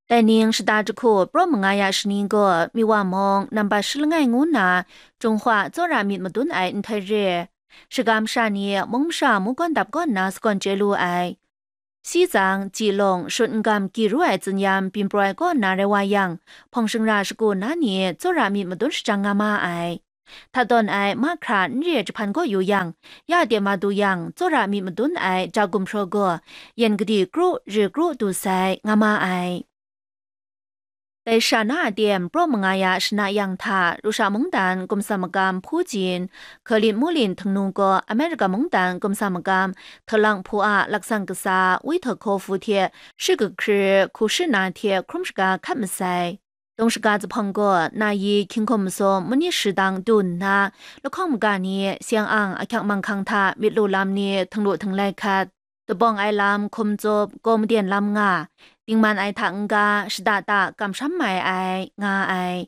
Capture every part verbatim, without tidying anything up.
Dai ning shata jahku praw manga ya shani gaw Miwa mung nambat shi langai ngu nna Jinghwa tsawra myit madun ai nhtoi re. Shagam sha ni mung masha mungkan dap kaw nna sagawn chye lu ai. Sitsang, Jilung, Shut N-gam, Giru ai Tsinyam, Byin Praw ai kaw nna rai wa yang, hpawng shingra shagu na ni tsawra myit madun shajang nga ma ai. Hta tawn ai mahkra n re jahpan gaw yu yang, ya de ma du yang, tsawra myit madun ai ja gumhpraw gaw, yan gadi kru, ri kru du sai, nga ma ai. Dai sha na a tem praw manga ya shana yang hta, Rusha mungdan gumsa magam Putin, Kremlin mulin htingnu gaw America mungdan gumsa magam htalang hpu a laksang kasa Witkofu hte shi kahkri hku shi na hte hkrum shaga hkat masai. Dawng shaga zuphpawng gaw na yi hkying hkum masum mani shi dang du nna, lahkawng maga ni seng ang ahkyak manghkang hta myit lu lam ni htinglu htinglai hkat, dabawng ai lam hkum tsup, gaw maden lam nga, dingman ai hta n-ga, shada da kamsham mai ai, nga ai.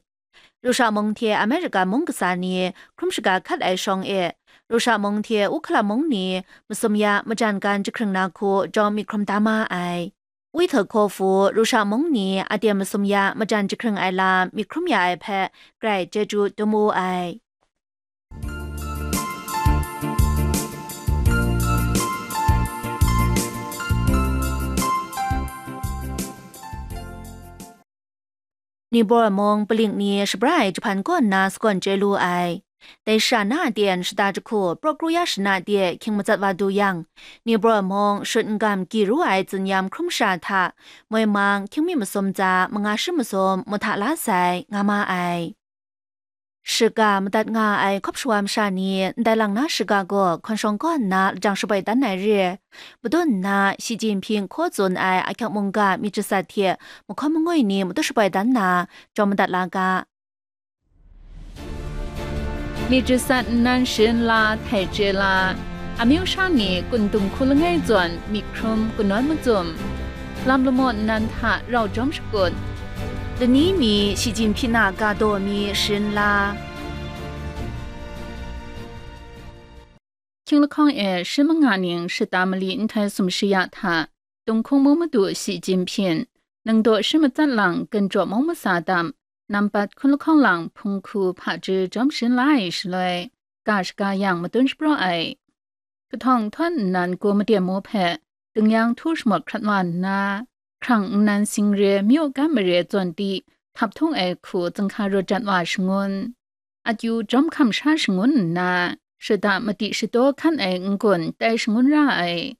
Rusha mung hte America mung kasa ni hkrum shaga hkat ai shawng e, Rusha mung hte Ukraine mung ni masum ya majan gan jahkring na hku jawm myit hkrum da ma ai. Witkofu Rusha mung ni a tem masum ya majan jahkring ai lam myit hkrum ya ai hpe grai chyeju dum u ai. Nibor mung paling ni shabra ai jahpan kaw nna sagawn chye lu ai. Dai sha na a ten shata jahku praw kru ya shana de hkying matsat wa du yang, Nibor mung Shut N-gam, Giru ai Tsinyam hkrum sha hta moi mang hkying mi masum tsa manga shi masum mahta la sai, nga ma ai. Shiga madat nga ai hkawp shawa masha ni ndai lang na shiga gaw hkawn shawng kaw nna lajang shaboi dan ai re. Madun nna Shi Jinping hkaw tsun ai ahkyak mungga myit jasat hte mahkawn mangwi ni matu shaboi dan na jawm madat la ga. Myit jasat nnan sharin la, htai chye la, amyu sha ni kun dung hku langai zawn myit hkrum kanawn macum, lam lamaw nnan hta rau jawm shakut, lani mi Shi Jinping a ga daw mi sharin la. Hkying lahkawng e shi manga ning shata mali nhtoi sumshi ya hta, Tunghkung mu madu Shi Jinping, ningdaw shi matsat lang, ganjaw mung masa dam, nampat hkun lahkawng lang hpung hku hpaji jawm sharin la ai shaloi, ga shaga yang madun shapraw ai. Kahtawng htawn nnan gaw maden mu hpe, dingyang htu shamawt hkrat wa nna, hkrang nnan singre myu gam mare zawn di, htaphtung ai hku zinghka rawt jat wa shangun. Akyu jawm hkam sha shangun nna, shada madi shadaw hkan ai n-gun tai shangun ra ai.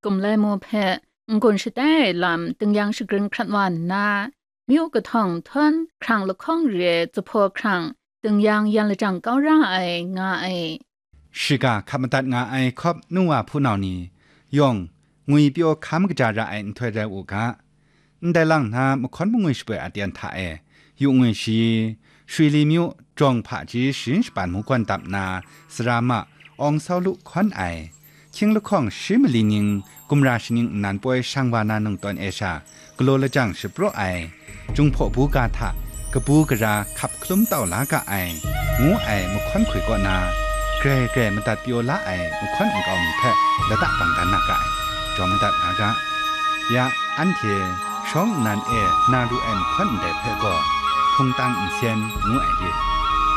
Kumlai mu hpe n-gun shatai ai lam dingyang shagrin hkrat wa nna, myu kahtawng htawn hkrang lahkawng re zuphpaw hkrang dingyang yan lajang kau ra ai, nga ai. Shiga hkap madat nga ai hkawp nu wa hpunau ni yawng ngwipyaw hkam kaja ra ai nhtoi rai u ga. Ndai lang na mahkawn mangwi shapoi aten hta e, yu ngwi shi, shwi li myu, jawng hpaji sharin shapan mungkwan dap nna, sara ma, awng sau lu hkawn ai, hkying lahkawng shi mali ning, gumra shaning nnan poi shang wa na nungtawn e sha, galaw lajang shapraw ai, Jinghpaw buga hta kabu gara hkap hkalum tau la ga ai, ngu ai mahkawn hkoi kaw na, grai grai madat pyaw la ai mahkawn nkau mi hpe lata bang dan na ga ai, jawm madat nga ga. Ya, anhte shawng nnan e na lu ai mahkawn ndai hpe gaw, hpungtang nsen ngu ai re.